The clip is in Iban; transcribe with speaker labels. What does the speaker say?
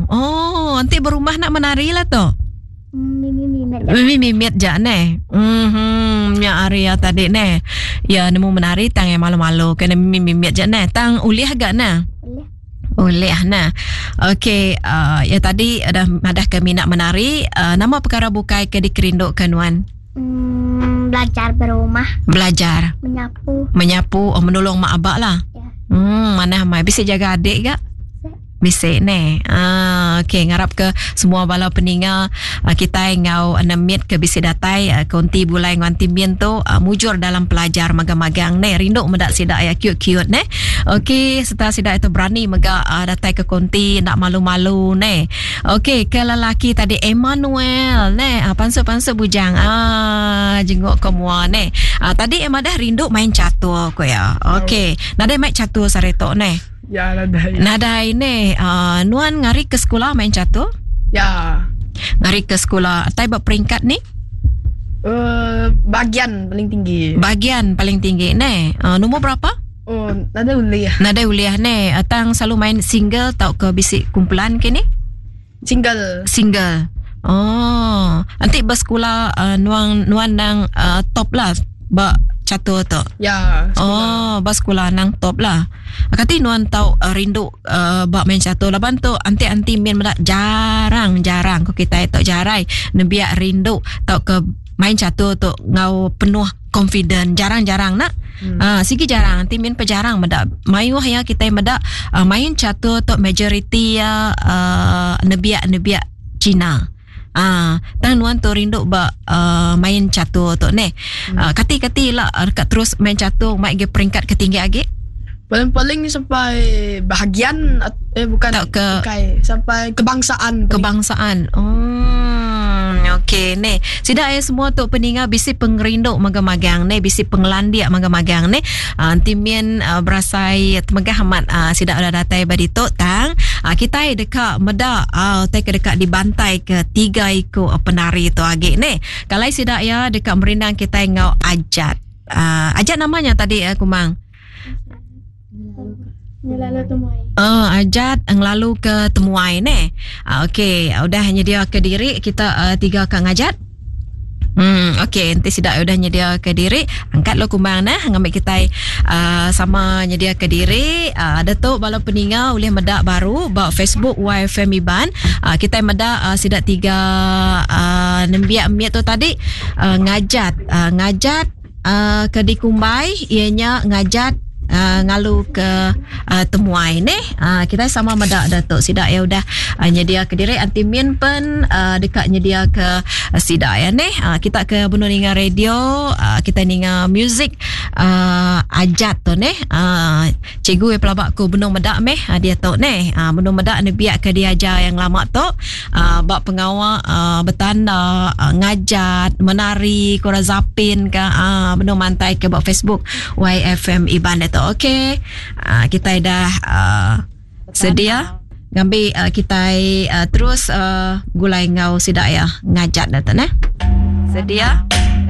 Speaker 1: Oh, enti berumah nak menari lah tu.
Speaker 2: Mimit-mimit
Speaker 1: ja. Mimit-mimit ja neh. Mhm, nya ari ya tadi neh. Ya nemu menari tang yang malu-malu kena mimit-mimit ja neh. Tang ulih ga neh.
Speaker 2: Ulih.
Speaker 1: Ulih neh. Okey, uh, ya tadi dah madah ke minat menari, uh, nama perkara bukai ke dikerinduka nuan?
Speaker 2: Hmm, belajar berumah.
Speaker 1: Belajar.
Speaker 2: Menyapu.
Speaker 1: Menyapu, oh menolong mak abak lah.
Speaker 2: Ya.
Speaker 1: Hmm, mana mai bisa jaga adik gak? Bisi neh. Ah, okey ngarap ke semua bala peninga uh, kitai enggau nemit ke bisi datai uh, konti bulai enggau anti min tu uh, mujur dalam pelajar magang-magang neh. Rindu meda sida ya cute-cute neh. Okey, serta sida itu berani mega uh, datai ke konti ndak malu-malu neh. Okey, ke lelaki tadi Emmanuel neh. Uh, pansut-pansut bujang. Ah, jenguk ke mua neh. Uh, tadi Emma dah rindu main catur ko ya. Okey, nadai main catur sehari tu neh.
Speaker 3: Ya, nadai.
Speaker 1: Nadai ne. Uh, nuan ngari ke sekolah main catur?
Speaker 3: Ya.
Speaker 1: Ngari ke sekolah. Tai ba peringkat ni?
Speaker 3: Uh, bagian paling tinggi.
Speaker 1: Bagian paling tinggi ne. Uh, nombor berapa?
Speaker 3: Oh, nadai ulih.
Speaker 1: Nadai ulih ne. Uh, tang selalu main single tau ke bisi kumpulan ke ni?
Speaker 3: Single.
Speaker 1: Single. Oh, nanti bersekolah uh, nuan nuan nang uh, top lah ba catur tu.
Speaker 3: Ya.
Speaker 1: Sekolah. Oh, ba sekolah nang top lah. Kati nuan tau uh, rindu uh, ba main catur laban tu anti-anti main meda jarang-jarang ko kita tu jarai nembiak rindu tau ke main catur tu ngau penuh confident jarang-jarang nak. Hmm. Uh, sigi jarang nanti min pejarang meda mayuh ya kita meda uh, main catur tu majoriti ya uh, nebiak-nebiak Cina. Ah, tang nuan tu rindu ba uh, main catur tu neh. Hmm. Uh, kati-kati lah dekat terus main catur mai ge peringkat ke tinggi agi.
Speaker 3: Paling-paling sampai bahagian eh bukan
Speaker 1: tak ke
Speaker 3: bukai, sampai kebangsaan.
Speaker 1: Kebangsaan. Hmm, okey ni. Sida eh semua tu peninga bisi pengerindu magang-magang ni, bisi pengelandik magang-magang ni. Uh, nanti min uh, berasai temegah amat uh, sida udah datai badi tu tang. Uh, kita deka meda uh, tai ke deka dibantai ke tiga iku penari tu agi ni. Kalau sida ya deka merindang kita ngau ajat. Uh, ajat namanya tadi uh, Kumang.
Speaker 2: Ngelalu temuai.
Speaker 1: Oh, ajat ngelalu ke temuai ne. Ah, okey, udah nyedia ke diri kita uh, tiga ka ngajat. Hmm, okey, nanti sidak udah nyedia ke diri, angkat lo kumbang nah ngambil kita uh, sama nyedia ke diri. Uh, ada tu bala peninga ulih meda baru ba Facebook YFM Iban. Uh, kita meda uh, sidak tiga uh, nembiak miat tu tadi uh, ngajat, uh, ngajat uh, ke dikumbai ianya ngajat uh, ngalu ke uh, temuai neh. Uh, kita sama meda Datuk sida ya udah uh, nyedia ke diri anti min pen uh, dekat nyedia ke uh, sida ya neh. Uh, kita ke benung ninga radio, uh, kita ninga music uh, ajat tu neh. Uh, cikgu yang pelabak ku benung meda meh uh, dia tu neh. Uh, benung meda ne biak ke diajar yang lama tu uh, ba pengawa uh, betanda, uh, ngajat, menari, kura zapin ke uh, benung mantai ke ba Facebook YFM Iban itu. Okey. Uh, kita dah uh, sedia ngambi uh, kita uh, terus uh, gulai ngau sida ya ngajat dah tu neh. Sedia?